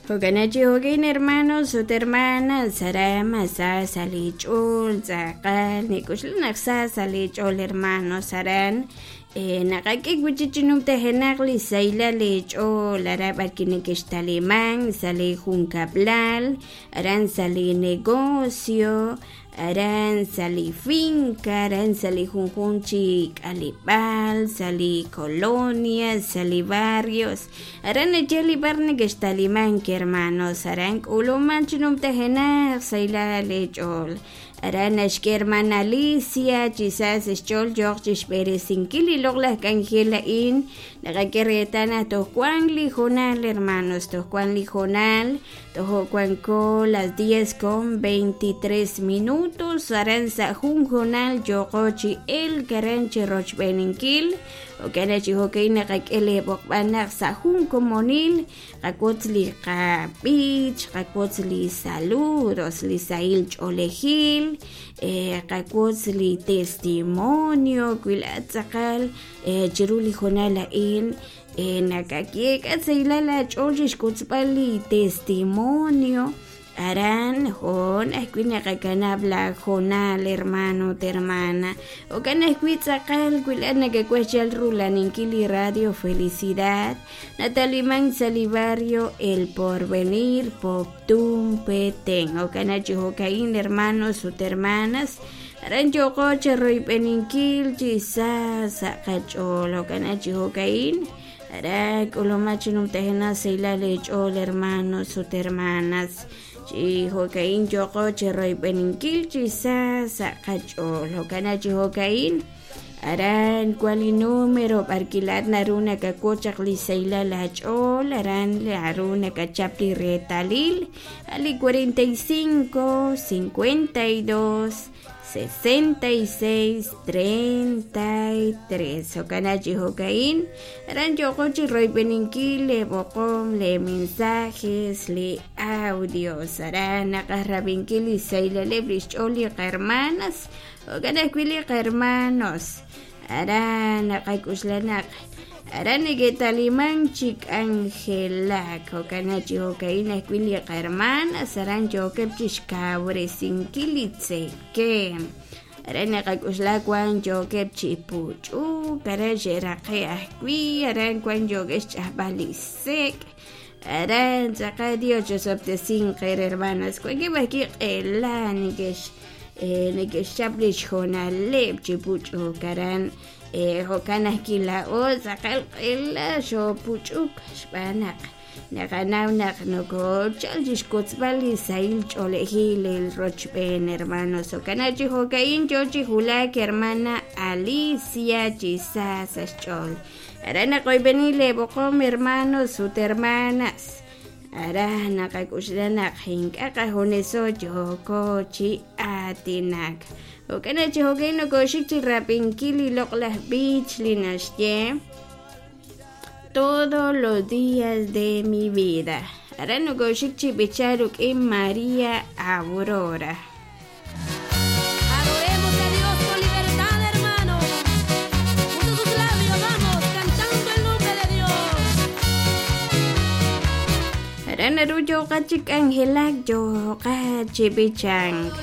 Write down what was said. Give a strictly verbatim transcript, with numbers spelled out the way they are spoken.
Jo'kan chi jo'kin hermanos ut hermanas aran mas sa sa' li ch'ool tz'aqal nik'uxla naq sa sa' li ch'ool hermanos aran naqak'e wi'chik chi numtajenaq li sahilal li ch'ool aran b'arwi' nekextaliman sa' li junkab'lal aran sa' li negocio aran sa' li finca aran sa' li junjun chi k'aleb'aal sa' li colonia sa' li barrios aran naye li bar nekextaliman hermanos aran k'uluman chi numtajenaq sahilal li ch'ool aran naxk'e hermana Alicia chi sa sa' xch'ool yo'q chixb'eresinkil li loq'laj k'anjel a'in naqak'e reetal naq toj wan li hoonal hermanos toj wan li hoonal toj wanko las diez con veintitrés minutos aran sa' jun hoonal yo'qo chi elk aran chi rochb'eninkil jo'kan chi jo'ka'in naqak'e li b'oqb'al naq sa' jun komonil qawotz li qab'ich qawotz li saludos li sahil ch'oolejil qawotz li testimonio wi laat tz'aqal chiru li hoonal a'in nakak'e k'a sahilal aach'ool chixk'utzb'al li testimonio aran hoon ajwi' naqakanab' la hoonal hermano ut hermana jo'kan ajwi' tz'aqal wi laat nakawaj chal rulaninkil li Radio Felicidad nataliman sa' li barrio El Porvenir Poptún Petén jo'kan chi jo'ka'in hermanos ut hermanas aran yo'qo chiroyb'eninkil chi sa sa' qach'ool jo'kan chi jo'ka'in aran k'uluma chi numtajenaq sahilal li ch'ool hermanos ut hermanas chi jo'ka'in yo'qo chiroyb'eninkil chi sa sa' qach'ool jo'kan chi jo'ka'in aran wan li número b'arwi' laat naru nakawotz chaq li sahilal aach'ool aran naru nakachap li reetalil a li cuarenta y cinco, cincuenta y dos, sesenta y seis, treinta y tres jo'kan chi jo'ka'in aran yo'qo chi royb'eninkil li b'oqom li mensajes li audios aran naqaj rab'inkil li sahilaleb' li xch'ool li qahermanas jo'kan ajwi' li qahermanos aran naqak'uxla naq aran neke'taliman chi k'anjelak jo'kan chi jo'ka'in ajwi' li qahermanas aran yookeb' chixkawresinkil li tzekem aran naqak'uxla wan yookeb' chi puch'uk aran xe'raqe' ajwi' aran wan yookeb' xch'ajb'al li sek' aran tz'aqal Dios chosob'tesinqer hermanas wankeb' ajwi' q'ela nekex neke'xchap li xhoonaleb' chi puch'uk aran jo'kan ajwi' laa'o tz'aqal q'ela xoopuch'uk xb'aan naq naqanaw naq nokochal chixkotzb'al li sahil ch'oolejil el rochb'een hermanos jo'kan chi jo'ka'in yoo chi wulak hermana Alicia chi sa sa' xch'ool aran naqoyb'eni li b'oqom hermanos ut hermanas aran naqak'uxla naq ink'a' qajuneso yooko chi aatinak jo'kan chi jo'ka'in nokoxik chi rab'inkil li loq'laj b'ich li naxye todos los días de mi vida aran nokoxik chi b'ichar ruk'in María Aurora. Adoremos a Dios con libertad, hermanos. Junto sus labios vamos cantando el nombre de Dios. Aran naru yo'qa chi k'anjelak yo'qa chi b'ichank.